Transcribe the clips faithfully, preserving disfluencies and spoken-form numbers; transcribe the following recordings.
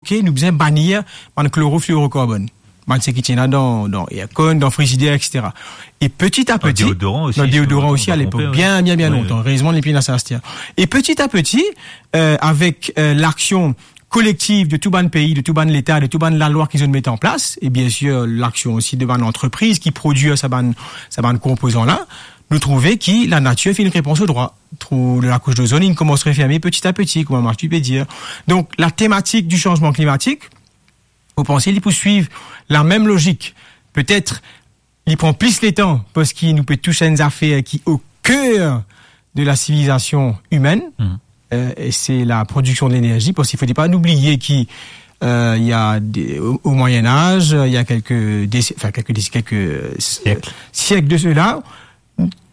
Ok, nou bizin banir bann kloroflorokarbonn. Bann seki ti ena dan, dan aircon, dan frizider, et cetera. E peti a peti, dan deodoran osi, si mo pa tronpe, bien, bien, bien lontan. Erezman, li pena sa aster. E peti a peti, euh, avek, euh, laksion kolektiv de tou bann pei, de tou bann leta, de tou bann lalwa ki zot met an plas, e bien sir, laksion osi de bann antrepriz ki prodwir sa bann, sa bann konpozan la, nou trouve ki lanatir finn repran so drwa. Trou de lakous dozonn, inn koumans referme peti a peti, kouma Mathieu pe dir. Donk, la tematik di sanzman klimatik, mo panse li pou swiv lamem lozik. Petet, li pran plis letan, parski nou pe tous enn zafer ki o ker de la sivilizasion imenn, euh, e se la prodiksion de lenerzi, parski fode pa nou bliye ki, euh, il y a des, au, au Moyen Âge, il y a quelques déc-, enfin, quelques déc-, quelques s-, siek de cela,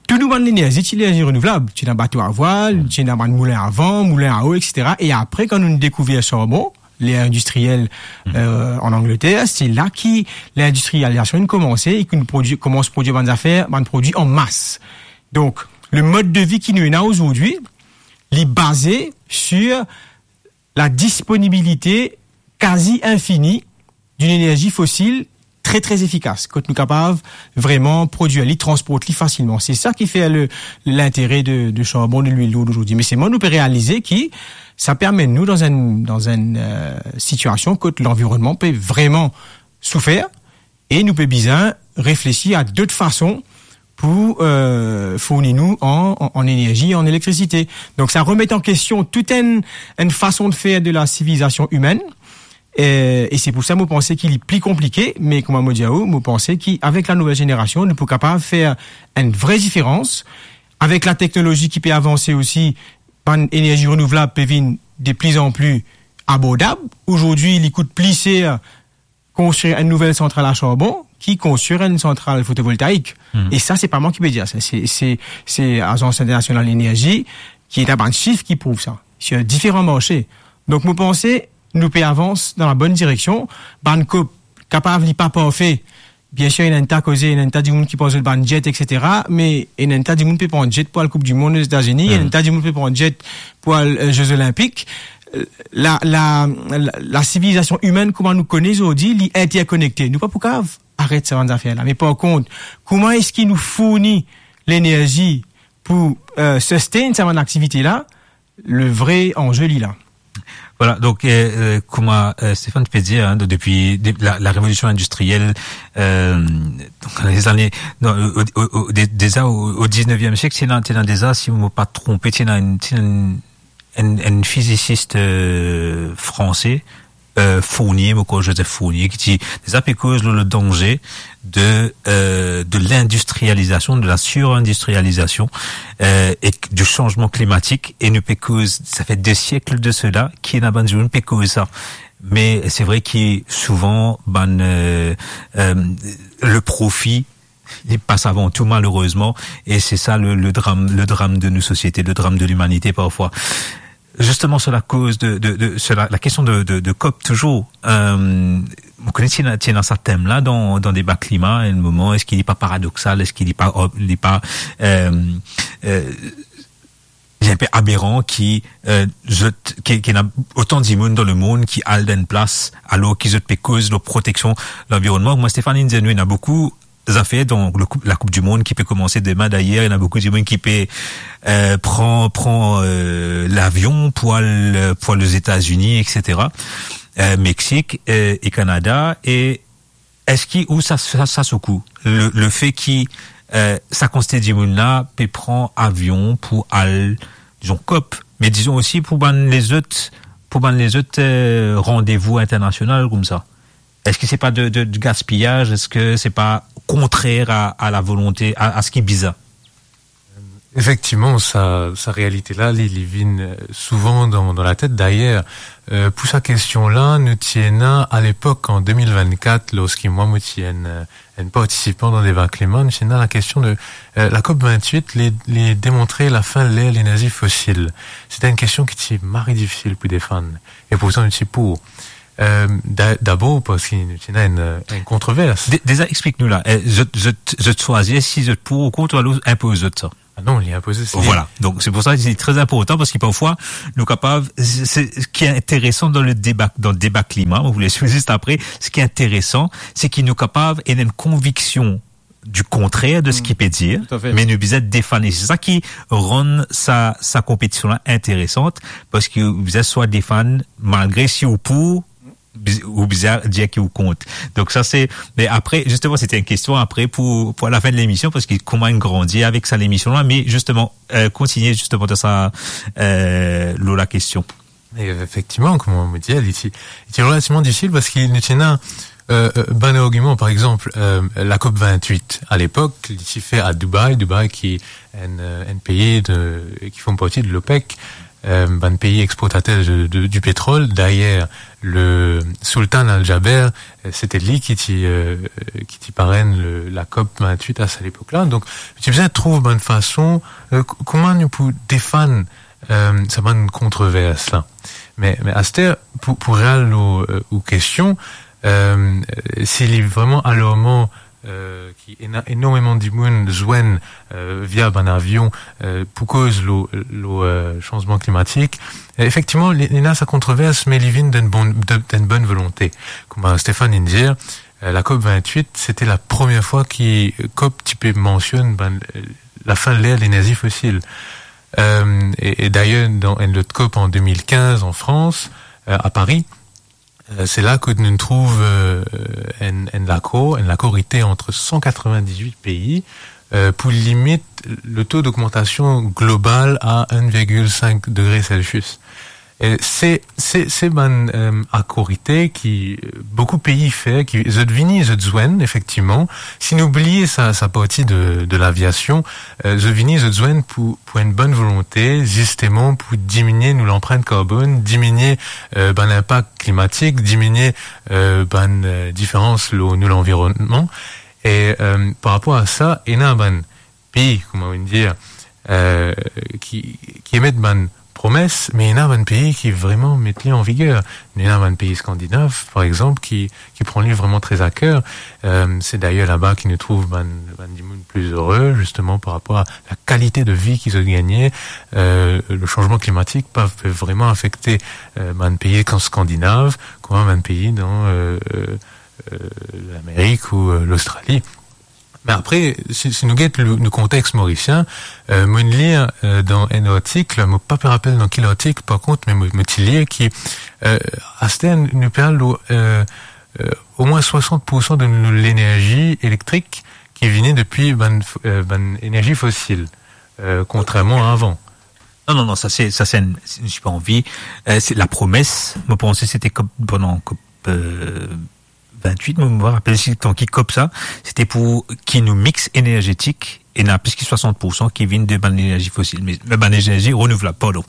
tou nou bann lenerzi, ti lenerzi renouvlab, ti ena bato a vwal, ti ena bann moulin a van, moulin a o, et cetera. E apre, kan nou dekouver sarbon, ler industriel, euh, an Angleter, se la ki lindustrializasion inn komanse e ki nou prodwi, koumans prodwir bann zafer, bann prodwi an mas. Donk, le mod de vi ki nou ena azordi, li baze sir la disponibilite kazi infini d'une énergie fossile très, très effikas, kot nou kapav vreman prodwir li, transport li fasilman. Se sa ki fer le, lintere de, de sarbon, de lwil lourd azordi. Me selman nou pe realize ki sa pe amenn nou dan enn, dan enn, euh, sitiasion kot lanvironnman pe vreman soufer e nou pe bizin reflesi a dot fason pou, euh, fourni nou an, an, an enerzi, an elektrisite. Donk, sa remet an kestion tout enn, enn fason de fer de la sivilizasion imenn. E, e se pou sa mo panse ki li pli konplike, me kouma mo dir a ou, mo panse ki avek la nouvel zenerasion, nou pou kapav fer enn vre diferans. Avek la teknolozi ki pe avanse osi, bann enerzi renouvlab pe vinn de pli an pli abordab. Azordi, li kout pli ser konstrir enn nouvel santral a sarbon ki konstrir enn santral fotovoltaik. E sa, se pa mwa ki pe dir sa. Se, se, se Azans Internasional Enerzi ki ena bann sif ki prouv sa. Se diferan marse. Donk, mo panse, nou pe avans dan la bonn direksion. Bann COP, kapav li pa parfe. Bien sir, ena enn ta koze, ena enn ta dimoun ki pran zot bann jet, et cetera. Me ena enn ta dimoun pe pran jet pou al Koup di Mond Ozetazini, ena enn ta dimoun pe pran jet pou al, euh, Ze Zolinpik. La, la, la, la sivilizasion imenn, kouma nou kone zordi, li interkonekte. Nou pa pou kapav aret sa bann zafer la. Me par kont, kouma eski nou fourni lenerzi pou, euh, sustain sa bann aktivite la, le vre anze li la. Voilà, donk, euh, euh, kouma, euh, Stéphane pe dir, hein, de-, depi de-, la, la révolution industrielle, euh, donc, dan lezane, non, o, o, o, de-, deza o, o dizneviem siek, ti ena, ti ena deza, si mo pa tronpe, ti ena enn, ti ena enn, enn, enn fizisis, euh, franse, euh, Fournier, mo krwar Joseph Fournier, ki ti deza pe koz lor le danze de, euh, de l'industrialisation, de la surindustrialisation, euh, et du changement climatique. E nou pe koz, sa fer de siek de sela, ki ena bann dimoun pe koz sa. Me se vre ki souvan, bann, euh, euh, le profi, li pas avan tou, malerezman, e se sa le, le dram, le dram de nou sosiete, le dram de limanite parfwa. Zisteman, sur la koz de, de, de, sur la, la kestion de, de, de COP touzour, euh, mo kone ti ena, ti ena sa tem la dan, dan deba klima, enn moman, eski li pa paradoksal, eski li pa, li pa, euh, euh, li enpe aberan ki, euh, zot, ki, ki ena otan dimoun dan lemond ki al dan enn plas, alor ki zot pe koz lor proteksion lanvironnman. Mwa, Stéphane, inn dir nou, ena boukou zafer, donk, le koup, la Koup di Mond ki pe koumanse demin, dayer, ena boukou dimoun ki pe, euh, pran, pran, euh, lavion pou al, pou al Ozetazini, et cetera. Euh, Meksik, euh, e Kanada, e eski ou sa, sa, sa soukou, le, le fe ki, euh, sa kantite dimoun la pe pran avion pou al, dizon, COP, me dizon osi pou bann lezot, pou bann lezot, euh, randevou internasional koumsa. Eski se pa de, de, de gaspiyaz? Eski se pa kontrer a, a la volonte, a, a seki bizin? Efektivman, sa, sa realite la, li, li vinn, euh, souvan dan, dan latet. Dayer, euh, pou sa kestion la, nou ti ena, a lepok, an de mil vennkat, lorski mwa, mo ti enn, euh, enn partisipan dan deba klima, nou ti ena la kestion de, euh, la COP vennwit, li, li demontre lafin ler lenerzi fosil. Sete enn kestion ki ti mari difisil pou defann. E pourtan, nou ti pou. Euh, da-, dabor parski nou ti ena enn, enn kontrovers. De-, deza, explik nou la. Eh, zot, zot, zot swazir si zot pou ou kont, ou alor inpoz zot sa? Ah non, li inpoze, se li. Voilà. Donc, c'est pour ça que c'est très important, parce que parfois, nous capables, c'est, c'est ce qui est intéressant dans le débat, dans le débat climat, on voulait suivre juste après, ce qui est intéressant, c'est qu'il nous capable et une conviction du contraire de ce qu'il peut dire, tout à fait, mais nous bizin défann. C'est ça qui rend sa, sa compétition-là intéressante, parce que vous êtes soit défann, malgré si ou pour, biz-, ou bizin dir ki ou kont. Donc ça c'est, mais après, justement, c'était une question après pour, pour la fin de l'émission, parce que comment on grandit avec ça, l'émission-là, mais justement, euh, continuer justement dans ça, euh, lor la question. E efektivman, kouma mo dir, li ti, li ti relativman difisil parski nou ti ena, euh, euh, bann argiman, par exanp, euh, la COP vingt-huit, a lepok, li ti fer a Dubai, Dubai ki enn, euh, enn pei de, ki form parti de l'OPEC, euh, bann pei exportater de, de, du petrol. Dayer, le Sultan Al Jaber, euh, se te li ki ti, euh, ki ti parenn le, la COP vingt-huit a sa lepok-la. Donk, ti bizin trouv bann fason, euh, k-, kouma nou pou defann euh, sa bann kontrovers la. Me, me aster, pou, pou real ou, euh, ou kestion, euh, si li vreman alarman, euh, ki ena enormeman dimoun zwenn, euh, via bann avion, euh, pou koz lor, lor, euh, sanzman klimatik, euh, efektivman, li, li ena sa kontrovers, me li vinn dan bon, dan, dan bonn volonte. Kouma Stéphane inn dir, euh, la COP vingt-huit, se te la premie fwa ki COP ti pe mansionn bann, euh, lafin ler lenerzi fosil. Euh, e, e dayer, dan enn lot COP an deux mille quinze an Frans, euh, a Pari, euh, se la kot nou trouv, euh, enn, enn lakor, enn lakor ete ant san katrovin-diz-wit pei, euh, pou limit le to dogmantasion global a enn virgil sink degre Celsius. E se, se, se bann, euh, akor ete ki, euh, boukou pei fer, ki zot vini, zot zwenn, efektivman. Si nou bliye sa, sa parti de, de laviasion, euh, zot vini, zot zwenn pou, pou enn bonn volonte, zisteman pou diminie nou lanprint karbonn, diminie, euh, bann linpak klimatik, diminie, euh, bann, euh, diferans lor nou lanvironnman. E, euh, par rapor a sa, ena bann pei, kouma nou dir, euh, ki, ki emet bann promes, me ena bann pei ki vreman met li an viger. Ena bann pei skandinav, par exanp, ki, ki pran li vreman tre a ker. Euh, se dayer laba ki nou trouv bann, bann dimoun pli ere, zisteman, par rapor a la kalite de vi ki zot gagne. Euh, le sanzman klimatik pa pe vreman afekte, euh, bann pei kan skandinav, kouma bann pei dan, euh, euh, euh, Lamerik ou, euh, Lostrali. Me apre, si, si nou get le, le kontex morisien, euh, mo'nn lir, euh, dan enn artik, mo pa pe rapel dan ki artik, par kont, me mo, mo ti lir ki, euh, aster nou pe al, euh, euh, omwin swasant poursan de nou lenerzi elektrik ki vini depi bann, euh, bann enerzi fosil, euh, kontrerman a avan. Non, non, non, sa se, sa se enn, se, mo pa anvi, euh, se la promes, mo panse se te COP, pandan COP, euh, vingt-huit, mo, mo pa rapel si kan ki COP sa, se te pou ki nou mix enerzetik, ena plis ki swasant poursan ki vinn de bann lenerzi fosil, me, me bann lenerzi renouvlab, pardon.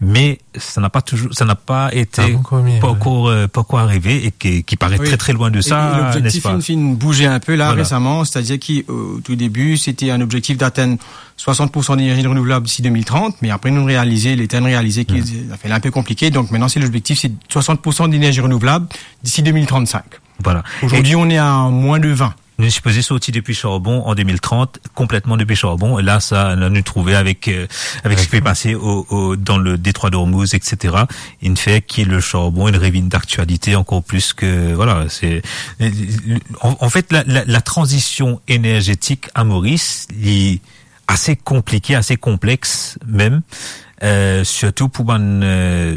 Me sa na pa touzour, sa na pa ete, ah bon, kouma, pa ankor, euh, pa ankor arive e ki, ki paret, oui, tre, tre lwin de sa, e, e lobzektif, nespa? Inn finn bouze inpe la, voilà, resaman, setadir ki, euh, o tou debi, se te enn obzektif d'atenn swasant poursan lenerzi renouvlab disi de mil trant, me apre nou realize, letan nou realize ki, hmm, sa fer li inpe konplike. Donk, mintnan, se lobzektif, se swasant poursan lenerzi renouvlab disi de mil trannsink. Voilà. Aujourd'hui, on est à moins de vingt. Nou sipoze sorti depi sarbon an de mil trant, konpletman depi sarbon. E la, sa, la nou trouve avek, euh, avek seki pe pase o, o, dan le détroit d'Ormuz, et cetera. Inn fer ki le sarbon, inn revinn d'aktialite ankor plis ke, voilà, se, an, an fet, la, la, la tranzision enerzetik a Moris, li ase konplike, ase konplex mem, euh, sirtou pou bann, euh,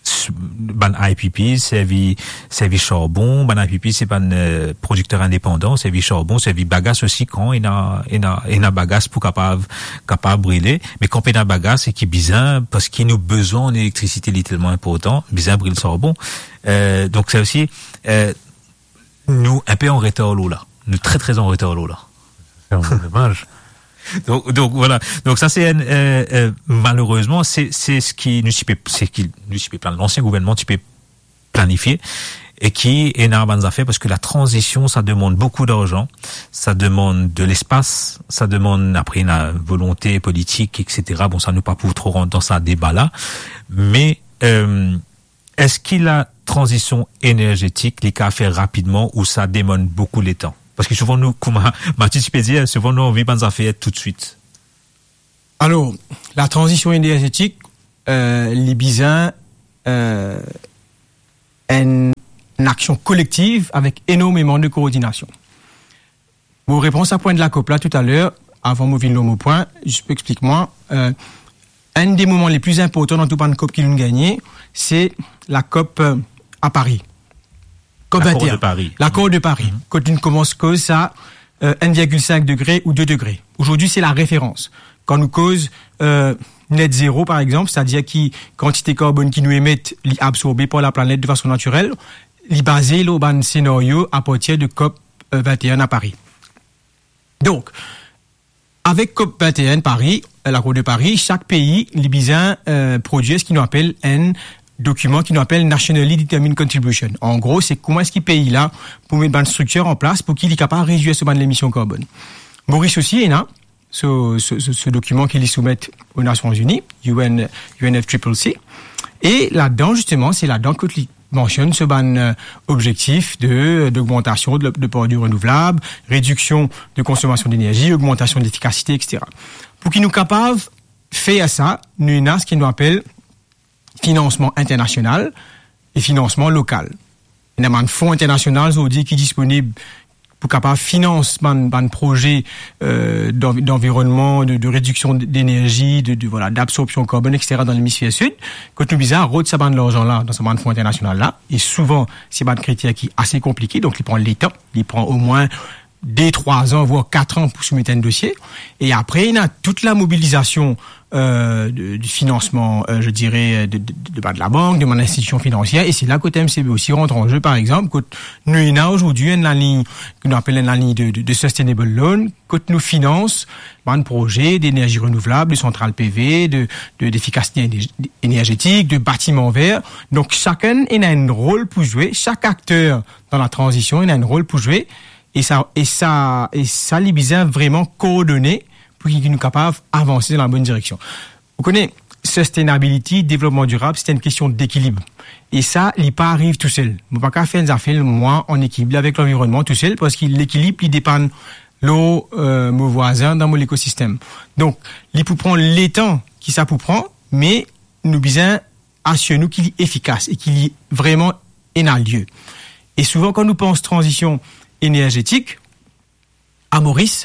s-, bann I P P servi, servi sarbon, bann I P P se bann, euh, prodikter indepandan, servi sarbon, servi bagas osi kan ena, ena, ena bagas pou kapav, kapav brile. Me kan pena bagas e ki bizin, parski nou bizin elektrisite, li telman inportan, bizin bril sarbon. Euh, donk sa osi, euh, nou inpe an retar lor la. Nou tre, tre an retar lor la. Se vreman domaz. Donk, donk, voilà. Donk sa se enn, euh, euh, malerezman, se, se seki nou ti pe, seki nou ti pe plan-, lansien gouvernman ti pe planifie, e ki ena bann zafer, parski la tranzision, sa demann boukou larzan, sa demann de lespas, sa demann apre la volonte politik, et cetera. Bon, sa nou pa pou tro rant dan sa deba la, me, euh, eski la tranzision enerzetik, li kapav fer rapidman ou sa demann boukou letan? Parski souvan nou, kouma Mathieu ti pe dir, souvan nou anvi bann zafer toutswit. Alor, la transision enerzetik, euh, li bizin, euh, enn, enn aksion kolektiv avek enormeman de koordinasion. Mo reponn sa pwin de la COP la toutaler, avan mo vinn lor mo pwin, zis pou explik mwa, euh, enn de moman le pli inportan dan tou bann COP ki nou'nn gagne, se la COP, euh, a Paris. COP vingt et un. L'accord de Paris. L'accord de Paris. Mhm. Kot nou koumans koz sa, euh, enn virgil sink degre ou de degre. Ozordi, se la referans. Kan nou koz, euh, net zero, par exanp, setadir ki kantite karbonn ki nou emet, li absorbe par laplanet de fason natirel, li baze lor bann senario apartir de COP, euh, vingt et un a Paris. Donk, avek COP vingt et un Paris, euh, L'accord de Paris, sak pei, li bizin, euh, prodwir seki nou apel enn dokiman ki nou apel Nationally Determined Contribution. An gro, se kouma eski pei la pou met bann striktir an plas pou ki li kapav redwir so bann lemision karbonn. Moris osi ena so, so, so, so dokiman ki li soumet o Nasion Ini, U N, U N F triple C. E ladan, zisteman, se ladan kot li mansionn so bann, euh, obzektif de, dogmantasion de, de par di renouvlab, rediksion de konsomasion denerzi, ogmantasion de lefikasite, et cetera. Pou ki nou kapav fer sa, nou ena seki nou apel finansman internasional e finansman lokal. Ena bann fon internasional zordi ki disponib pou kapav finans bann, bann proze, euh, d'anvi-, d'anvironnman, de, de rediksion de, denerzi, de, de, vwala, d'absorbsion karbonn, et cetera, dan lemisfer sid, kot nou bizin rod sa bann larzan la dan sa bann fon internasional la. E souvan, se bann kriter ki ase konplike, donk li pran letan, li pran omwin de, trwa an, vwar kat an pou soumet enn dosie. E apre, ena tou la mobilizasion, euh, de, de finansman, euh, je dirais, de, de, de bann labank, de bann institision finansier, e se la kot M C B osi rant an ze, par exanp, kot nou ena ozordi enn lalign, ki nou apel enn lalign de, de, de sustainable loan, kot nou finans bann proze denerzi renouvlab, de santral P V, de, de, defikasite ener-, enerzetik, de batiman ver. Donk, sakenn ena enn rol pou zwe, sak akter dan la tranzision ena enn rol pou zwe, e sa, e sa, e sa, li bizin vreman koordone pou ki nou kapav avanse dan labonn direksion. Ou kone, sustainability, devlopman dirab, se enn kestion dekilib. E sa, li pa ariv tousel. Mo pa kapav fer enn zafer, mwa, an ekilib avek lanvironnman tousel, parski lekilib, li depann lor, euh, mo vwazin dan mo lekosistem. Donk, li pou pran letan ki sa pou pran, me nou bizin asir nou ki li efikas e ki li vreman ena lie. E souvan, kan nou pans tranzision enerzetik, a Moris,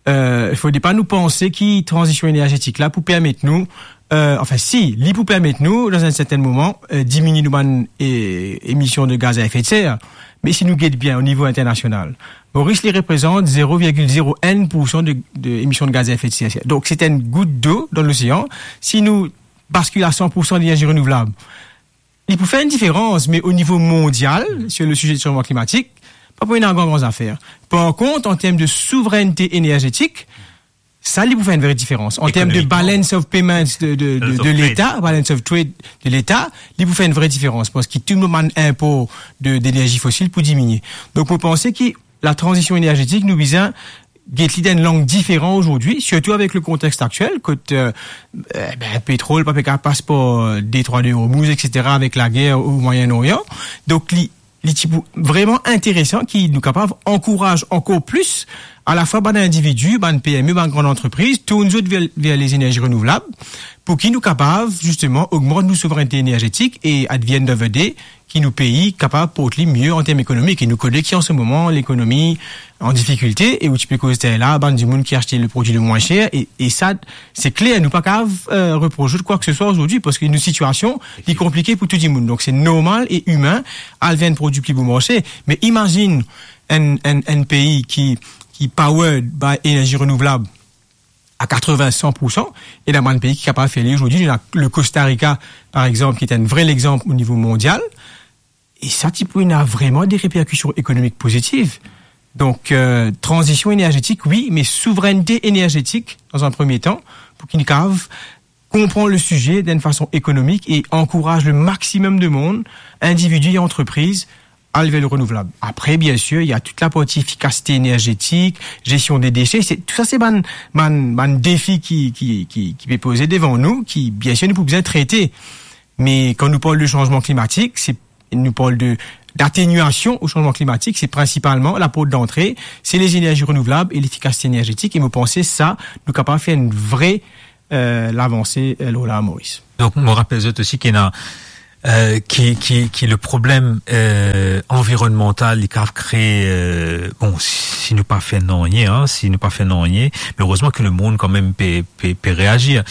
euh, fode pa nou panse ki tranzision enerzetik la pou permet nou, euh, anfin, si, li pou permet nou, dan enn sertenn moman, euh, diminie nou bann, eh, emision de gaz a efe de ser. Me si nou get bien o nivo internasional, Moris, li reprezant zero virgil zero enn poursan de, de emision de gaz a efe de ser. Donk, se enn gout dlo dan losean. Si nou baskil a san poursan denerzi renouvlab, li pou fer enn diferans, me o nivo mondial, sur le sujet de changement climatique, pa pou ena gran, gran zafer. Par kont, an term de souvrennte enerzetik, sa, li pou fer enn vre diferans. An term de Ekonomikman. Balance of payments de, de, de, Balance of de trade. Leta, balance of trade de Leta, li pou fer enn vre diferans, parski tou bann inpor de, denerzi fosil pou diminie. Donk, mo panse ki la tranzision enerzetik, nou bizin get li dan enn lang diferan ozordi, sirtou avek le kontext aktiel, kot, euh, eh ben, petrol pa pe kapav pas par, euh, Detrwa de Hormuz, et cetera, avek lager o Mwayen Orian. Donk, li, li ti pou vreman interesan ki nou kapav ankouraz ankor plis, alafwa bann individi, bann P M E, bann gran antrepriz, tourn zot ver, ver lezenerzi renouvlab, pou ki nou kapav, zisteman, ogmant nou souvrennte enerzetik e, at the end of the day, ki nou pei kapav port li mie an term ekonomik. E nou kone ki an se moman, lekonomi an difikilte, e ou ti pe koz tel la, bann dimoun ki aste le prodwi le mwin ser, e, e sa, se kler, nou pa kapav, euh, repros zot kwa ke se swa ozordi, parski nou sitiasion, li konplike pou tou dimoun. Donk, se normal e imin al ver enn prodwi pli bon marse. Me imazinn enn, enn, enn pei ki, ki powered by enerzi renouvlab a katreven, san poursan, e ena bann pei ki kapav fer li ozordi. Ena le Costa Rica, par exanp, ki enn vre lexanp o nivo mondial. E sa ti pou ena vreman de reperkision ekonomik pozitiv. Donk, euh, tranzision enerzetik, wi, me souvrennte enerzetik, dan enn premie tan, pou ki nou kapav konpran le size dan enn fason ekonomik e ankouraz le maximum de moun, individi e antrepriz, al ver le renouvlab. Apre, biensir, ena tou la parti efikasite enerzetik, zestion de dese. Se, tou sa, se bann, bann, bann defi ki, ki, ki, ki pe poze devan nou, ki, biensir, nou pou bizin trete. Me kan nou parl de sanzman klimatik, se, nou parl de, d'ateniasion o sanzman klimatik, se prinsipalman, laport dantre, se lezenerzi renouvlab e lefikasite enerzetik. E mo panse sa, nou kapav fer enn vre eh, lavanse, eh, lor la Moris. Donk, mo rapel zot osi ki ena, eh, ki, ki, ki le problem, eh, anvironmantal, li kapav kree, eh, bon, si nou pa fer nanye, hein, si nou pa fer nanye, me erezman ki lemond kanmem pe, pe, pe reazir.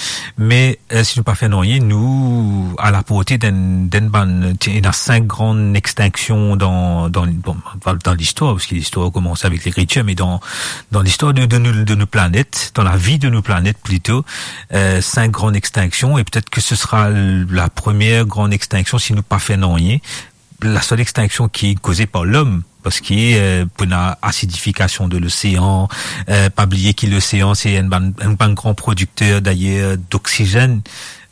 Me, eh, si nou pa fer nanye, nou a laporte d'enn, d'enn bann, ti, ena sink gran extinksion dan, dan, bon, dan listwar, parski listwar koumans avek lekritir, me dan, dan listwar de, de nou, de nou planet, dan lavi de nou planet plito, eh, sink gran extinksion, e petet ki se sera la premie gran extinksion si nou pa fer nanye. La sel extinksion ki koze par lom, parski, eh, pou ena asidifikasion de losean, eh, pa bliye ki losean se enn bann, enn bann gran prodikter, dayer, doksizenn,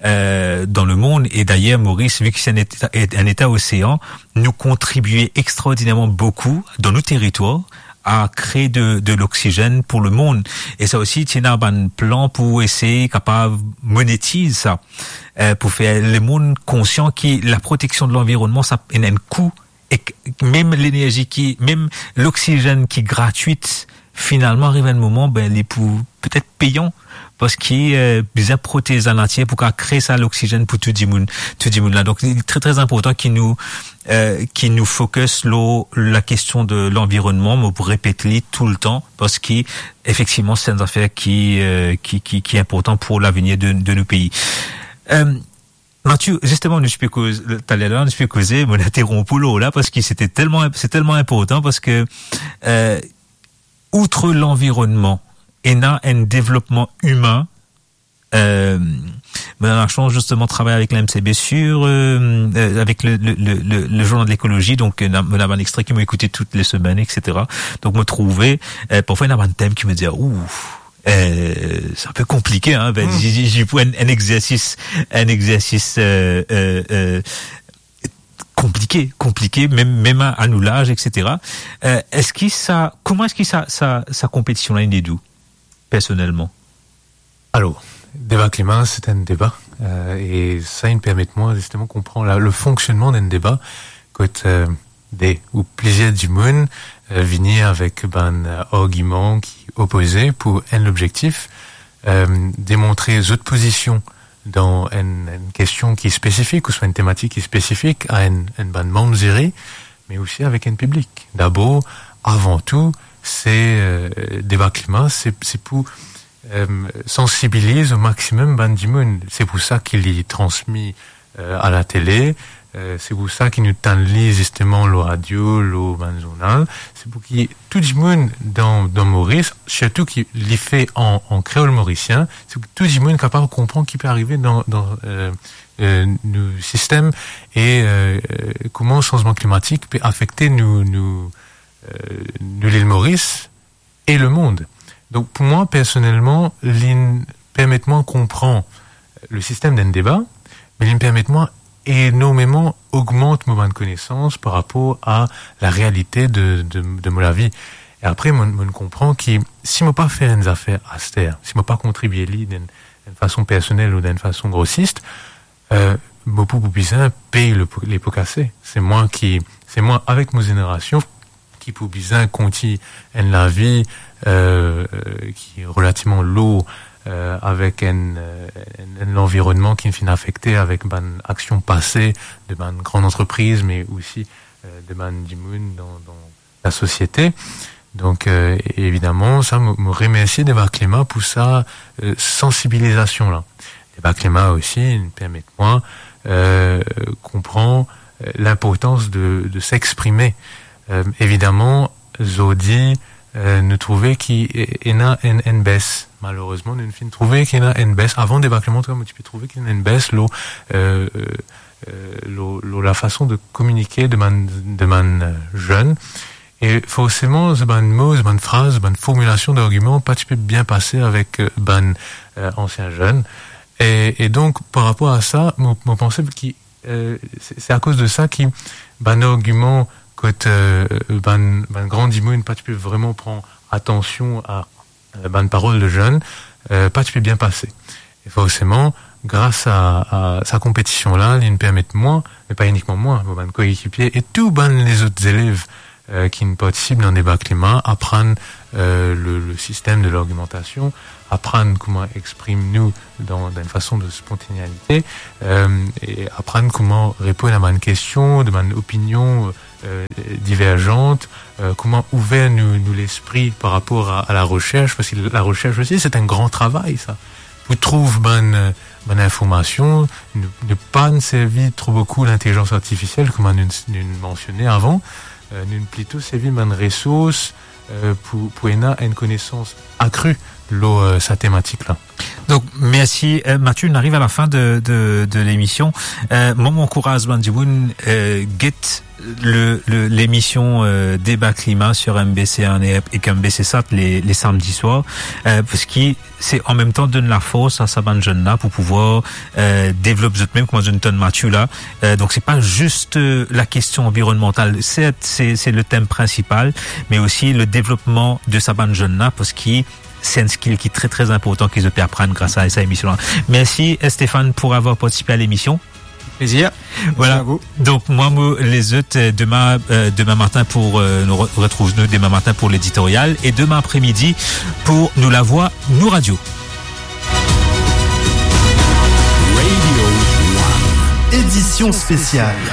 eh, dan lemond. E dayer, Moris, vi ki se enn eta, enn eta osean, nou kontribie extraordinèrman boukou dan nou teritwar a kree de, de loksizenn pou lemond. E sa osi, ti ena bann plan pou esey kapav monetiz sa, eh, pou fer lemond konsian ki la proteksion de lanvironnman, sa ena enn kou, e k-, mem lenerzi ki, mem loksizenn ki gratwit, finalman, ariv enn moman, be, li pou petet peyan, parski, eh, bizin protez lanatir pou kapav kree sa loksizenn pou tou dimoun, tou dimoun la. Donk, li tre, tre inportan ki nou, eh, ki nou focus lor lakestion de lanvironnman, mo pou repet li toultan, parski, efektivman, se enn zafer ki, eh, ki, ki, ki inportan pou lavenir de, de nou pei. Eh, Mathieu, zisteman, nou ti pe koz, taler la, nou ti pe koze, mo interronp ou la, parski se telman, se telman inportan, parski, eh, outre lanvironnman, ena enn devlopman imin, eh, mo ena lasans zisteman travay avek la M C B sur, eh, eh, avek le, le, le, le, le journal de l'écologie, donk, eh, na, mo ena bann extre ki mo ekoute tout le semenn, et cetera. Donk, mo trouve, eh, parfwa, ena bann tem ki mo dir, ouf, eh, se inpe konplike, hein, ben, hmm, zi, zi, zi pou enn, enn exersis, enn exersis, eh, eh, eh, konplike, konplike, mem, mem a, a nou laz, et cetera. Eh, eski sa, kouma eski sa, sa, sa konpetision la inn ed ou, personelman? Alor, deba klima, se enn deba, eh, e sa inn permet mwa zisteman konpran la, le fonksionnman d'enn deba, kot, eh, de ou plizier dimoun, eh, vini avek bann, eh, argiman ki opoze pou enn lobzektif, eh, demontre zot pozision dan enn, enn kestion ki spesifik, ouswa enn tematik ki spesifik a enn, enn bann manm ziri, me osi avek enn piblik. Dabor, avan tou, se, eh, deba klima, se, se pou, eh, sansibiliz o maximum bann dimoun. Se pou sa ki li transmi, eh, a latele, eh, se pou sa ki nou tann li zisteman lor radio, lor bann zournal. Se pou ki tou dimoun dan, dan Moris, sirtou ki li fer an, an kreol morisien, se pou tou dimoun kapav konpran ki pe arive dan, dan, eh, eh, nou sistem e, eh, kouma sanzman klimatik pe afekte nou, nou, eh, nou Lil Moris e lemond. Donk, pou mwa, personelman, li permet mwa konpran le sistem d'enn deba, me li permet mwa enormeman ogmant mo bann konesans par rapor a larealite de, de, de mo lavi. E apre, mo, mo konpran ki si mo pa fer enn zafer aster, si mo pa kontribie li dan enn, enn fason personel ou dan enn fason grosis, eh, mo pou, pou bizin pey le po, le po kase. Se mwa ki, se mwa avek mo zenerasion ki pou bizin kontign enn lavi, eh, ki relativman lour, eh, avek enn, eh, enn, enn lanvironnman ki finn afekte avek bann aksion pase de bann gran antrepriz, me osi, eh, de bann dimoun dan, dan lasosiete. Donk, eh, evidaman, sa, mo, mo remersie Deba Klima pou sa, eh, sansibilizasion la. Deba Klima osi, li permet mwa, eh, konpran, eh, linportans de, de s'exprimer. Eh, evidaman, zordi, eh, nou trouve ki, eh, ena enn, enn bes. Malerezman, nou finn trouve ki ena enn bes. Avan Deba Klima, antouka, mo ti pe trouve ki ena enn bes lor, eh, eh, eh, lor, lor lafason de kominike de bann, de bann, eh, zenn. E forseman, zot bann mo, zot bann fraz, zot bann formilasion d'argiman pa ti pe bien pase avek, eh, bann, eh, ansien zenn. E, e donk, par rapor a sa, mo, mo panse ki, eh, se, se akoz de sa ki bann argiman kot, eh, bann, bann gran dimoun pa ti pe vreman pran atansion a, eh, bann parol de zenn, eh, pa ti pe bien pase. E forseman, gras a, a sa konpetision la, li permet mwa, me pa inikman mwa, mo bann koekipie e tou bann lezot zelev, euh, ki'nn partisip dan deba klima, aprann, euh, le, le sistem de largimantasion, aprann kouma exprim nou dan, dan enn fason de spontaneite, euh, e aprann kouma reponn a bann kestion, de bann opinion, euh, diverzant, euh, kouma ouver nou, nou lespri par rapor a, a larosers, parski larosers osi, se enn gran travay, sa. Pou trouv bann, euh, bann informasion, nou, nou pa servi tro boukou lintelizans artifisiel, kouma nou, nou mansione avan, euh, nou plito servi bann resours, euh, pou, pou ena enn konesans akri lor, euh, sa tematik la. Donk, mersi, euh, Mathieu, nou ariv a la fin de, de, de lemision. Euh, mwa, mo ankouraz bann dimoun, euh, get le, le, lemision, euh, Deba Klima sur M B C One ek M B C Sat le, le samdi swar, euh, parski se an mem tan donn lafors a sa bann zenn la pou pouvoir, euh, devlop zot mem, kouma zot tonn Mathieu la. Euh, donk, se pa zis, euh, lakestion anvironnmantal. Sert, se, se le tem prinsipal, me osi le devlopman de sa bann zenn la, parski se enn skill ki tre, tre inportan ki zot pe aprann gras a sa emision la. Mersi, euh, Stéphane, pou avoir partisipe a lemision. Plezir. Voilà. Mersi a vou. Donk, mwa, mo les zot, euh, demin, euh, demin matin pou, euh, nou re-, retrouv nou demin matin pou leditorial e demin apre-midi pou nou lavwa, nou radio. Radio One. Édition spéciale.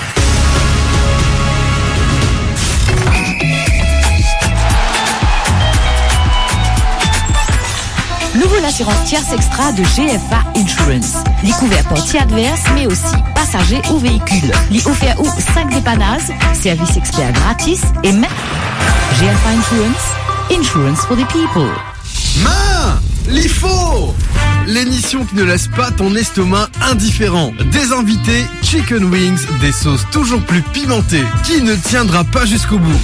Nouvo lasirans Tierce Extra de G F A Insurance. Li kouver parti advers, me osi pasaze ou veikil. Li ofer ou sink depanaz, servis exper gratis e mem G F A Insurance, insurance for the people. Main, li for! L'émission qui ne laisse pas ton estomac indifférent. Des invités, chicken wings, des sauces toujours plus pimentées. Qui ne tiendra pas jusqu'au bout?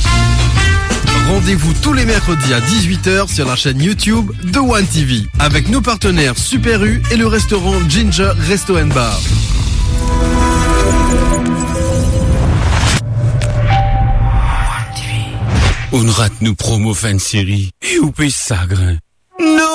Rendez-vous tous les mercredis à dix-huit heures sur la chaîne YouTube de One T V, avec nos partenaires Super U et le restaurant Ginger Resto and Bar. Ou'nn rat nou promo fin de seri e ou pe sagrin. Non!